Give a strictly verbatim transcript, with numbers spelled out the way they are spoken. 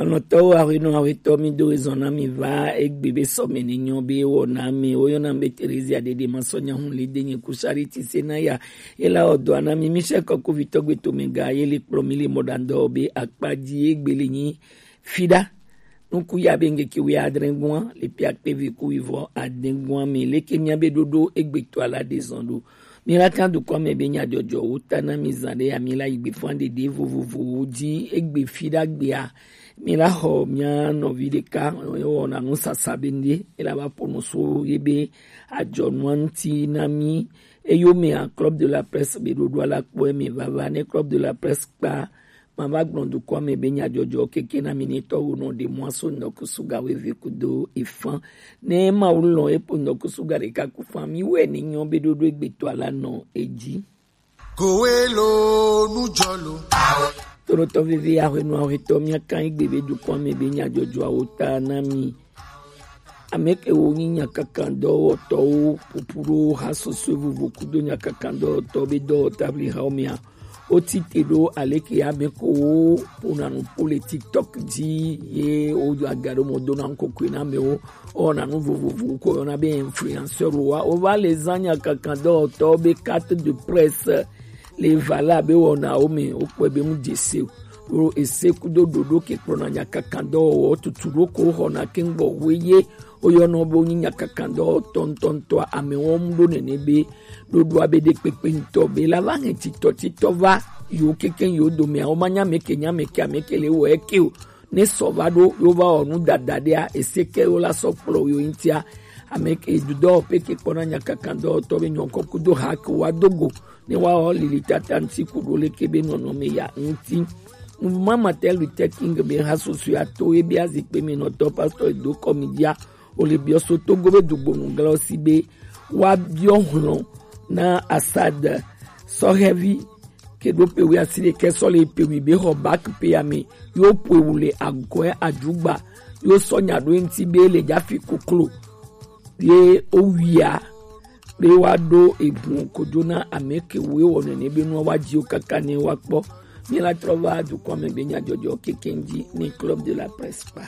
Alɔtɔwo, ahwenɔ ahwetɔ, mi do ezɔn na mi va egbe be sɔme ni nyɔ be wɔ na mi. Woyɔna mi be Terezia Dede Masɔnya Hun Lide, nye ku Charity Senaya. Ela ɔdɔ na mi, Michel Kɔkuvitɔ Gbetomega, ye le kplɔ mi le mɔɖaŋdɔ be akpa ji egbe le nyi Fida. Nuku ya be ŋkeke wuiadre gua le piakpe vi ku wivɔ ade gua mi. Leke mia be ɖoɖo egbe to ala de zɔn ɖo. Mi la kan dukɔ me be nyadzɔdzɔ wo ta na mi zan ɖe ya mi la yi gbe fan ɖeɖe vovovowo ji egbe Fida gbea. Mi la xɔ mia nɔvi ɖeka wɔna nu sasa be ŋɖe mi la va ƒo nu so ye be adzɔnua ŋuti na mi. Eyo mea Club de la Presse be ɖoɖoa la kpɔ eme vava ne Club de la Presse kpa. Mava gblɔ dukɔa me be nyadzɔdzɔ keke na mi ne tɔwo nɔ ɖe mɔ aso ŋdɔkusu ga weve kudo efan. Ne Mawu lɔn epo ŋdɔkusu ga ɖeka ku fan mi wɛ ni nyɔ be ɖoɖo egbetɔ ala nɔ edzi. Kowe lo nujɔ lo. Tonotɔ veve ahwenu ahwetɔ mia kan egbe be dukɔa me be nyadzɔdzɔawo ta na mi. Ame kewo nyi nyakakandɔwɔtɔwo ƒoƒu ɖo ha sɔsɔe vovo kudo nyakakandɔwɔtɔ be dɔwɔtablihawo mea, woti te ɖo aleke ame kewo ƒona nu ƒo le TikTok dzi ye wodo aga ɖo mɔ dona ŋkɔkɔe na amewo. Wɔna nu vovovowo ko yɔna be influenceur wa wova le zã nyakakandɔwɔtɔwo be carte de presse le vala be wɔnawo me wokpɔe be mu dze se o. Ese kudo ɖoɖo ke kplɔna nyakakandɔwɔwɔ tutu ɖo ko xɔna keŋgbɔ hoe ye woyɔnɔ be wonyi nyakakandɔwɔtɔ ŋutɔŋutɔa amewɔm ɖo nene be ɖoɖoa be ɖekpekpe ŋutɔ be la va hɛn titɔtitɔ va yiwo kekeŋ yiwo domea womanya ameke nya ameke ameke le wɔ eke o. Ne sɔ va ɖo yewo va wɔ nu dada ɖea ese ke yewo la sɔ kplɔ yewo ŋutia. Ameke dudɔ peke kpɔna nyakakandɔwɔtɔ be nyɔkɔ kudo ha ke wa dogo ne woawɔ lilitata ŋuti ku ɖo leke be nɔnɔme ya ŋuti. Mouvement Martin Luther King be ha sosoe ato ye be azikpe me nɔtɔ pastor Edo Kɔmidia wole biɔ so Togo be dugbonu glɔ si be woabiɔ hlɔ̃ na Assad sɔhɛvi ke ɖo pe wi asi ɖekɛ sɔ le pe wi be xɔ bak pe ya me yo pe wu le agɔɛ adzugba yo sɔ nya ɖo eŋuti be le dzafi koklo ye owia be woaɖo eʋu kojo na ame kewo ewɔ nene be nua woadziwo kaka ne woakpɔ. Míela trɔ va dukɔa me be nyadzɔdzɔ kekeŋ dzi ne Club de la Presse kpa.